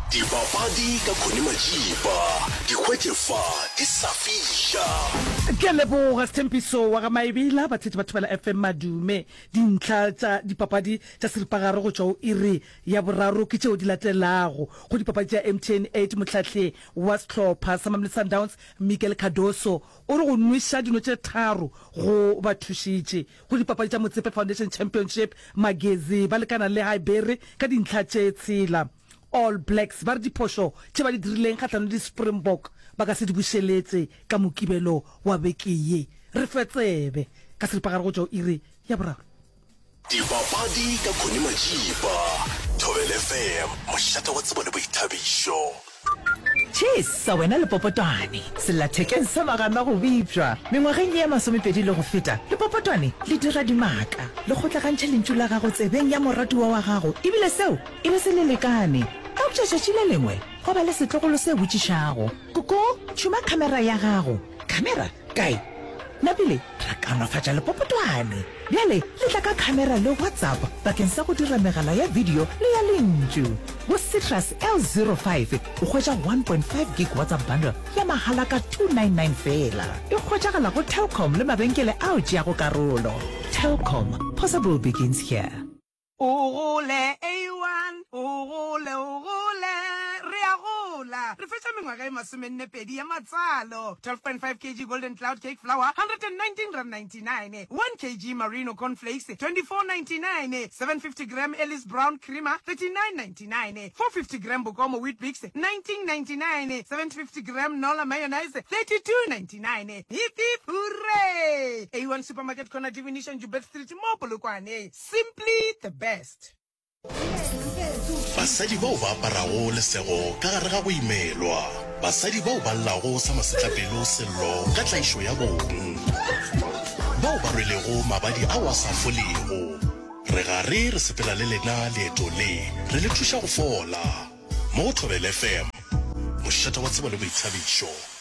Dipapadi ka Connie Majiba, di hwetše fa di sa fiša. Ke a leboga Sthempiso wa ga Maebela, batheetši ba Thobela FM Madume. Dintlha tša dipapadi tša seripagare go tšwa go iri ya boraro ke tšeo di latelago. Go dipapadi tša MTN 8 mohlahli wa sehlopha sa Mamelodi Sundowns Miguel Cardoso o re go nweša dino tše tharo go ba thušitše. Go dipapadi tša Motsepe Foundation Championship, Magezi ba lekana le Highbury ka dintlha tše tshela. All Blacks ba re diphošo tše ba di dirileng kgahlanong le di-Springbok ba ka se di bušeletše ka Mokibelo wa beke ye. Re fe tsebe ka seripagare go tšwa go iri ya boraro. Dipapadi ka Connie Majiba, Thobela FM, mošate wa tsebo le boithabišo. Tšhesa wena lepopotwane, sellathekeng sa magana go bipšwa. Mengwageng ye ya masomepedi le go feta, lepopotwane le dira dimaka. Le kgotlagantšha lentšu la gago tsebeng ya moratiwa wa gago, ebile seo e be se le lekane. Eupša tšatši le lengwe gwa ba le setlogolo se botšišago, Koko, tšhuma khamera ya gago. Khamera? Kae? Napile ra kaonafatša lepopotwane. Bjale le tla ka khamera le WhatsApp bakeng sa go dira megala ya video le ya lentšu. Go Citrus L05 o hwetša 1.5 gig WhatsApp bundle ya mahala ka 299 feela. E hwetšagala go Telkom le mabenkele ao tšeago karolo. Telkom, possible begins here. O gole, A1, o gole, o gole, re a gola. Re fetša mengwaga e masomennepedi ya matswalo. 12.5 kg Golden Cloud Cake Flour, R119.99, 1 kg Marino Corn Flakes, 24.99, 750 gram Ellis Brown Creamer, 39.99, 450 gram Bokomo Weet-Bix, 19.99, 750 gram Nola Mayonnaise, 32.99. Hip hip hooray! A1 Supermarket Corner Divination Joubert Street mo Polokwane. Simply the best. Basadi bao ba aparago lesego ka gare ga go imelwa. Basadi bao ba llago sa masetlapelo sello ka tlaišo ya bong. Bao ba rwelego mabadi ao a sa folego. Re gare re sepela le lena leeto le, re le thuša go fola. Mo go Thobela FM, mošate wa tsebo le boithabišo.